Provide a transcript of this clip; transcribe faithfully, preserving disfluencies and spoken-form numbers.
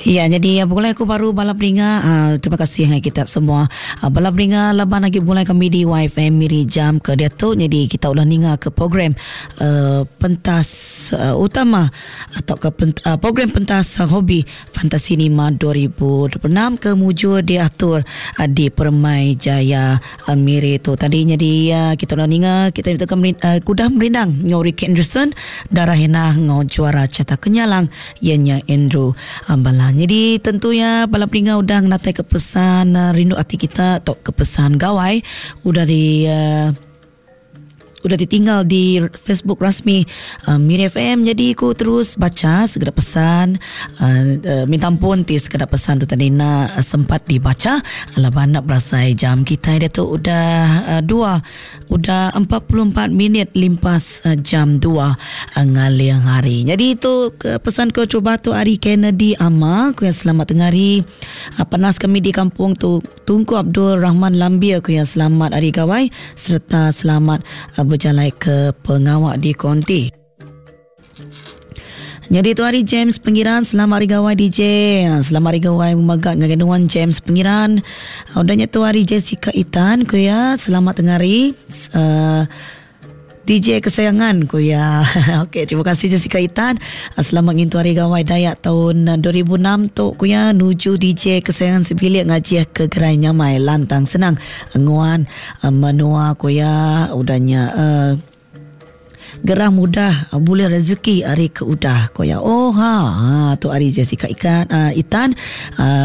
Ya, jadi begulai aku baru bala peninga, uh, terima kasih ngagai kita semua. Uh, bala peninga laban agi begulai kami di Y F M Miri jam ke diatu. Jadi kita udah ninga ke program uh, pentas uh, utama atau ke pent, uh, program pentas uh, hobi Fantasi Lima dua ribu dua puluh enam ke mujur diatur uh, di Permai Jaya uh, Miri tu. Tadi jadi uh, kita udah ninga kita itu uh, kuda merindang ngau Ricky Anderson, Darah Hena ngau juara Cata Kenyalang ianya Andrew uh, Balan. Jadi tentunya bala peninga udah ngatai ke pesan uh, rindu ati kita atau ke pesan gawai udah di uh, udah ditinggal di Facebook rasmi uh, Miri F M. Jadi aku terus baca segera pesan, uh, uh, minta ampun ti sekeda pesan tu tadi nak uh, sempat dibaca laban nak berasai jam kita dia tu udah uh, dua udah empat puluh empat minit limpas uh, jam dua uh, ngaling hari. Jadi itu ke pesan ke cuba tu hari Kennedy Ama ku yang selamat tengah hari, uh, panas kami di kampung tu Tunku Abdul Rahman Lambia ku yang selamat hari gawai serta selamat uh, berjalan ke pengawak di Konti. Jadi tu hari James Pengiran, selamat hari gawai D J. Selamat hari gawai megak dengan nuan James Pengiran. Udahnya tu hari Jessica Itan ku ya, selamat tengah hari. Uh, D J kesayangan ku ya. Okey, terima kasih Jessica Itan. Selamat ngintu hari gawai Dayak tahun dua ribu enam tu ku ya, nuju D J kesayangan sebilik ngaji ke gerai nyamai lantang senang nguan menua ku ya, udahnya uh, gerah mudah boleh rezeki hari ke udah ko ya. Oh ha, ha tu hari Jessica Ikan uh, Itan uh,